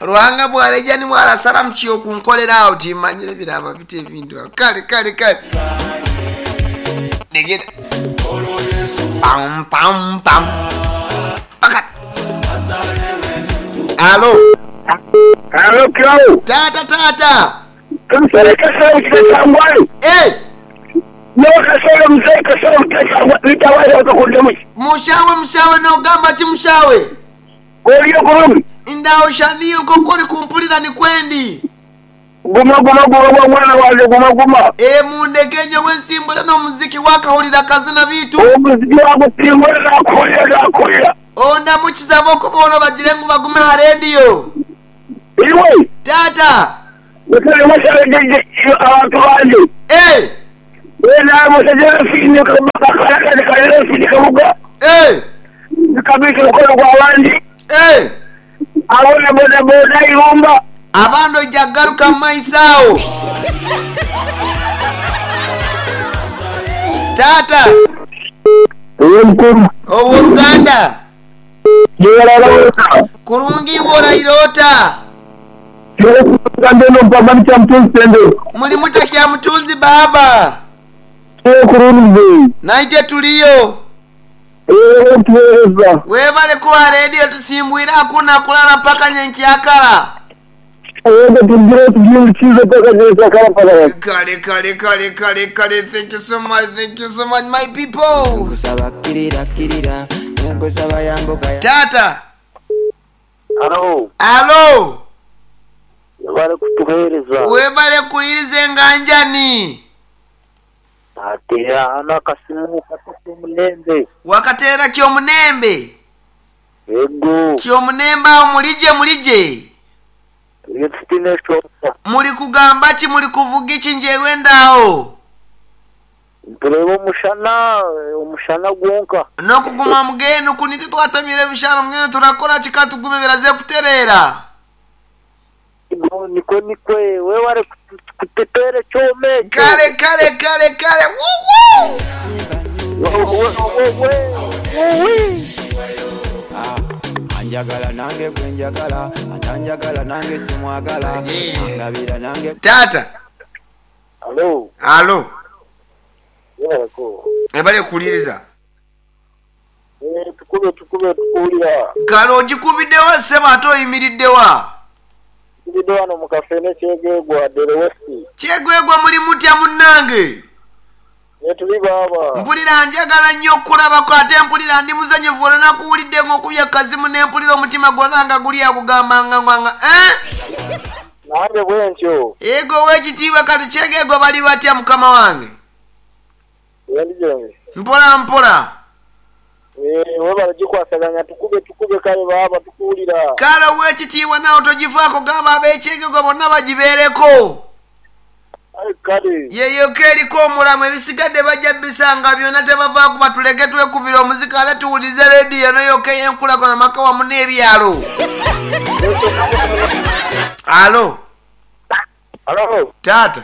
Ruhanga bwareja nimwe arasara mukiyo kunkolera awo timanyire biraba bita ebintu awo. Kale kale kale. Negeta. Pam pam pam. Paka. Alo. Alo Kirawo. Taata taata. Kansala Kasolo Kitakyangwali. Eh. Nyowe Kasolo Mzee Kasolo Kitakyangwali wakakundemuki. Mushawe mushawe nogamba ki mushawe? Oriyo kurungi? Ndaho sha niyo nk'oku ori kumpurira nikwo ndi. Guma guma guma mwana wangye guma guma. Eeh mundeke nyowe nsimbure n'omuziki wakahurira akazina beitu. Omuziki wagusimbura nakuhurira nakuhurira. Ondamukize ab'okuboona obagire ngu bagume aha rediyo. Iwe. Taata. Mushabe mushabe abantu bangye. Eeh. Weena mushabe Kabuga. Eeh. Kabisa omukono gw'abandi. Eeh. Abo na bodaboda Irumba. Abandi oija kugaruka mu maiso aho. Taata. Iwe mukuru. Ow'oruganda. Yebare ota. Kurungi iwe oraire ota? Nyowe kurungi mbwenu mpamba ni Kyamutunzi Senderi. Muri muta Kyamutunzi baaba? Nyowe kurungi mzeei. Naitwe turiyo. Webale kutuhereza. Webale kuba rediyo tusimbwire hakuna kurara mpaka nyenkyakara. Yego tugire tugihindukize mpaka nyenkyakara mpaka. Kale kale kale kale kale thank you so much thank you so much my people. Nkusaba kkirira kkirira nenkusaba yambuka. Taata. Halo. Alo. Webale kutuhereza. Webale kuhuririza enganjani. Nateera hanu akasimu kato Kyomunembe. Wakateera Kyomunembe? Ego. Kyomunembe aho murigye murigye? Turiyo tutaine eshonga. Muri kugamba ki muri kuvuga iki njyewe ndaho? Nitureeba omushana, omushana gwonka. N'okuguma mbwenu ku nitwe twatamire ebishano mbwenu turakora ki ka tugume biraze kutereera? Ego nikwo nikwe, webare kututeera ekyoma ekyo. Kare kare kare kare wuwuu. Anjagala nange gwe njagala, atanjagala nange simwagala, angabira nange. Taata. Alo. Alo. Yebareko. Webale kuwuliriza. Eh, tukube tukube tukuwulira. Kale ogikubidde wa ssebo ate oyimiridde wa? Nkubidde wano mu kafene Kyegegwa Dere West. Kyegwegwa muli mutya munnange? Gyetuli baaba. Mpulira njagala nnyo okukulabako ate mpulira ndi musanyufu olwo nakuwulidde ng'okubye kazimu ne mpulira omutima gwona nga guli akugamba nga nga eh? Nange bwentyo. Yego ow'ekitiibwa kati Kyegegwa bali batya mukama wange? Gyendi gyendi. Mpola mpola. Eeh webale gikwasaganya tukube tukube kale baaba tukuwulira. Kale owekitiibwa naawe togivaako gamba abekyegegwa bonna bagibeereko. Aye kale. Yeyoka eriko omulamwa ebisigadde bajja bisanga byona tebavaako batuleke twekubire omuziki ate tuwulirize radio eno yoka eyenkulakuna maka wamu nebyalo. Alo. Alo. Taata.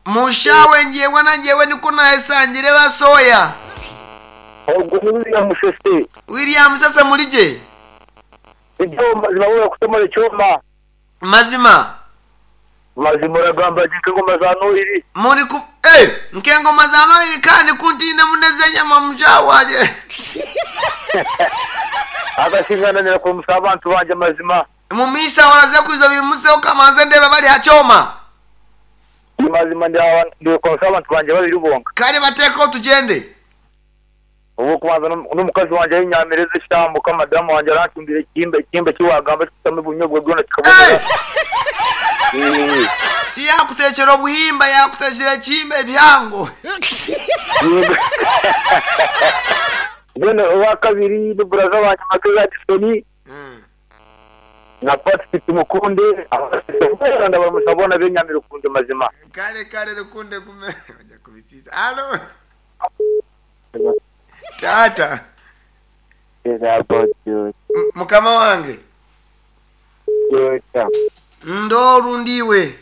Mushawe njyewe na njyewe nikwo nayesangire basoya. William Musese muri gye? Mazima. Muri ku eh nk'engoma za Nohiri kandi ku ntiinemu n'ez'enyama mushawe wangye. Mumiisha oraze kwija obimuseho kamanze ndeebe bari ha kyoma. Mazima ndi abantu bangye babiri bonka. Kare bateekeho tugyende. Ow'okubanza n'omukazi wangye ahi nyamireza eshambuka madamu wangye arancumbira ekihimba ekihimba eki waagamba ekikutamu obunyobwa bwona kikabonera. Tiyakuteekyera obuhimba yaakuteekyera ekihimba ebihango. Then owakabiri ni buraza wangye Magezi Addison na Patrick Tumukunde abasigaye ndabaramutsa boona benyami Rukundo mazima. Kare kare Rukundo gume ojja kubisiisa. Alo taata. Mukama wange. Ndoru ndiwe.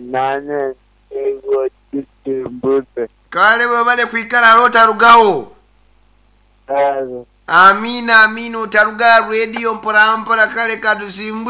Nanye ndi Kitimbuzi. Kale webale kwikala ghale otalugagho. Kale. Amiina amiina otaluga rediyo mpolampola kale katusimbule.